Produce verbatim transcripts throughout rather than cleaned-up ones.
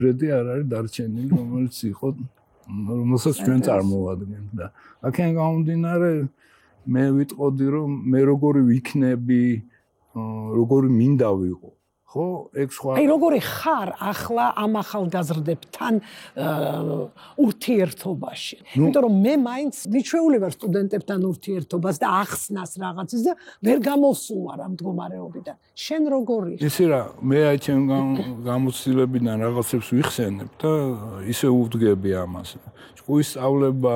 ბრედი არ არის დარჩენილი, რომელიც იყო, რომელსაც ჩვენ წარმოვადგენთ და აქედან გამომდინარე მე ვიტყოდი რომ მე როგორი ვიქნები, როგორი მინდა ვიყო. ხო, ეგ სხვა. აი როგორი ხარ ახლა ამ ახალგაზრდებთან ურთიერთობაში. იმიტომ რომ მე მაინც მიჩვეული ვარ სტუდენტებთან ურთიერთობას და ახსნას რაღაცის და ვერ გამოსულა ამ მდგომარეობიდან. შენ როგორი? ისი რა, მე აი ჩემ გამოცდილებიდან რაღაცებს ვიხსენებ და ისე უვდგები ამას. ჭკუის სწავლება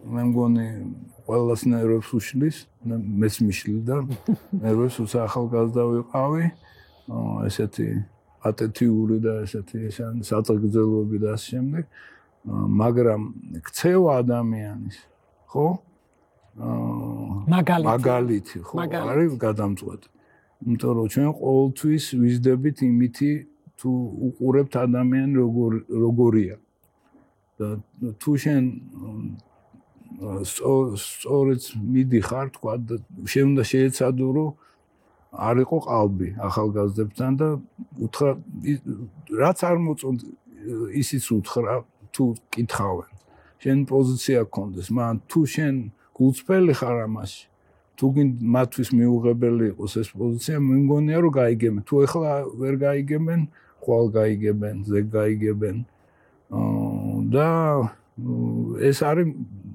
მე მგონი ყველას ნერვებს უშლის, მეც მიშლიდა, ნერვებს უცა ახალგაზრდა ვიყავი. ესეთი ატეტიური და ესეთი საწაგრძელოები და ასე შემდეგ, მაგრამ ქცევა ადამიანის, ხო? მაგალითი, ხო, არის გადამწყვეტი. იმიტომ რომ ჩვენ ყოველთვის ვიზდებით იმითი თუ უყურებთ ადამიანი როგორია. და თუ შენ სწორედ მიდიხარ, თქვა და შენ უნდა შეეცადო რომ არ იყო ყალბი ახალგაზრდებთან და უთხრა რაც არ მოწონთ ისიც უთხრა თუ კითხავენ შენ პოზიცია გქონდეს მაგრამ თუ შენ გულწრფელი ხარ ამაში თუ მათთვის მიუღებელი იყოს ეს პოზიცია მე მგონია რომ გაიგებენ თუ ეხლა ვერ გაიგებენ ხვალ გაიგებენ ზეგ გაიგებენ და ეს არის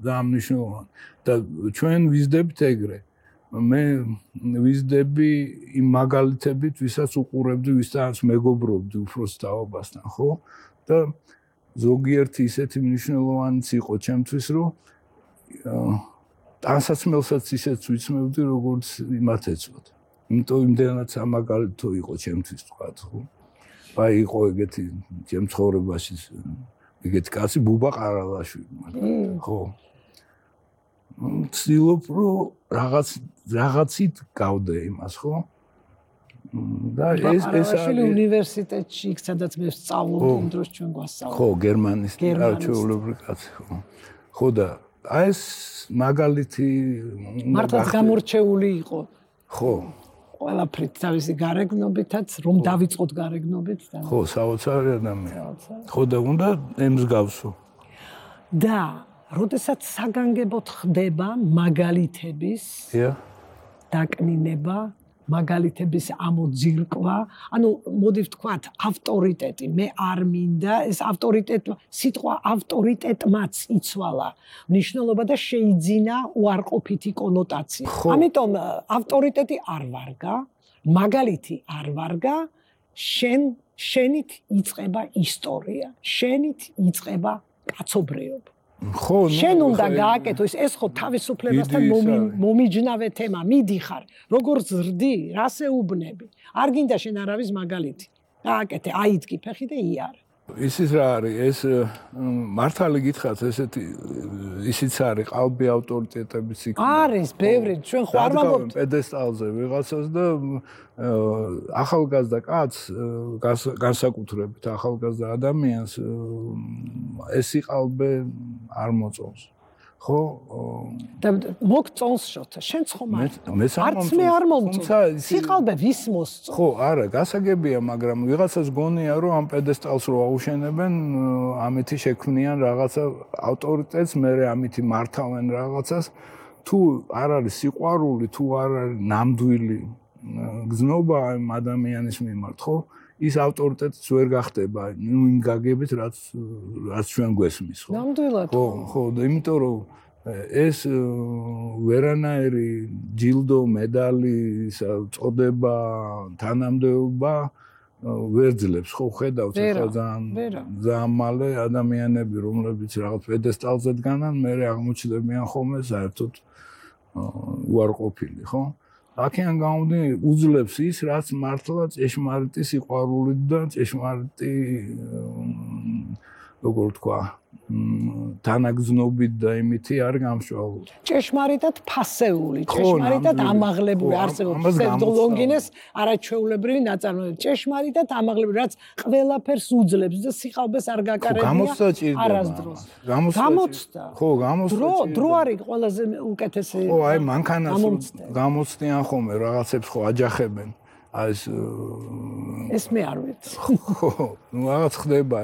დამნიშნულოვანი და ჩვენ ვიზდებით ეგრე მე ვიზდები იმ მაგალითებით, ვისაც უყურებდი, ვისაც მეგობრობდი უფროს თაობასთან, ხო? და ზოგიერთი ისეთი მნიშვნელოვანიც იყო ჩემთვის, რომ ტანსაცმელსაც ისეც ვიცნობდი, როგორც იმათ ეწოდა. იმიტომ იმდენად სამაგალითო იყო ჩემთვის თქვა, ხო? აი იყო ეგეთი ჩემ ცხოვრებაში ეგეთი კაცი ბუბა ყარალაშვილი, ხო? ცდილობ რომ რაღაც რაღაცით გავდე იმას ხო და ეს ეს არის უნივერსიტეტში იქ სადაც მე სწავლობდი იმ დროს ჩვენ გვასწავლეს ხო გერმანის არჩეულებრივი კაცი ხო ხო და აი ეს მაგალითი მართლაც გამორჩეული იყო ხო ყველაფრით თავისი გარეგნობითაც რომ დავიწყოთ გარეგნობით და ხო საოცარი ადამიანი ხო და უნდა ემსგავსო და როდესაც საგანგებოდ ხდება მაგალითების დაკნინება, მაგალითების ამოძირკვა, ანუ მოდი ვთქვათ, ავტორიტეტი, მე არ მინდა, ეს ავტორიტეტი, სიტყვა ავტორიტეტმაც იცვალა მნიშვნელობა და შეიძინა უარყოფითი კონოტაცია. ამიტომ ავტორიტეტი არ ვარგა, მაგალითი არ ვარგა, შენ შენით იწყება ისტორია, შენით იწყება კაცობრიობა. ხო, შენ უნდა გააკეთო ის ეს ხო თავისუფლებასთან მომიჯნავე თემა, მიდიხარ, როგორ ზრდი, რას ეუბნები. არ გინდა შენ არავის მაგალითი. გააკეთე, აიძგი ფეხი და იარე. ისიც რა არის, ეს მართალი გითხრათ, ესეთი ისიც არის, ყალბი ავტორიტეტებიც იქ. არის, ბევრი, ჩვენ ხო არ ვამბობთ პედესტალზე ვიღაცას და ახალგაზრდა კაცს განსაკუთრებით ახალგაზრდა ადამიანს ეს იყალბე არ მოწონს. ხო? და მოგწონს შოთა, შენც ხომ არ. არც მე არ მომწონს. იყალბე ვის მოსწონს? ხო, არა, გასაგებია, მაგრამ ვიღაცას გონია, რომ ამ პედესტალს რო აუშენებენ, ამითი შექმნიან რაღაცა ავტორიტეტს, მე ამითი მართავენ რაღაცას, თუ არ არის სიყვარული, თუ არ არის ნამდვილი გზნობა ამ ადამიანის მიმართ, ხო? ის ავტორიტეტიც ვერ გახდება, ნუ იმ გაგებით, რაც რაც ჩვენ გვესმის, ხო? ნამდვილად. ხო, ხო, და იმიტომ რომ ეს ვერანაირი ჯილდო, медали, წოდება, თანამდებობა ვერ ძლებს, ხო, ხედავთ ახლა ძალიან ძალიან მალე ადამიანები, რომლებიც რაღაც პედესტალზე დგანან, მე აღმოჩნდებიან ხოლმე საერთოდ უარყოფილი, ხო? აქედან გამომდინარე უძლებს ის, რაც მართლა ჭეშმარიტი სიყვარულით და ჭეშმარიტი როგორ თქვა, თანაგზნობით და იმითი არ გამშვალული. ჭეშმარიტად ფასეული, ჭეშმარიტად ამაღლებული არსებობს ფსევდოლოგინეს არაჩვეულებრივი ნაწარმოები. ჭეშმარიტად ამაღლებული, რაც ყველაფერს უძლებს და სიყალბეს არ გაკარებია არასდროს. გამოცდა. ხო, გამოცდა. დრო, დრო არის ყველაზე უკეთესი. ხო, აი მანქანას გამოცდიან ხოლმე რაღაცებს ხო აჯახებენ. აი ეს ეს მე არ ვიცი. ხო, ნუ რაღაც ხდება.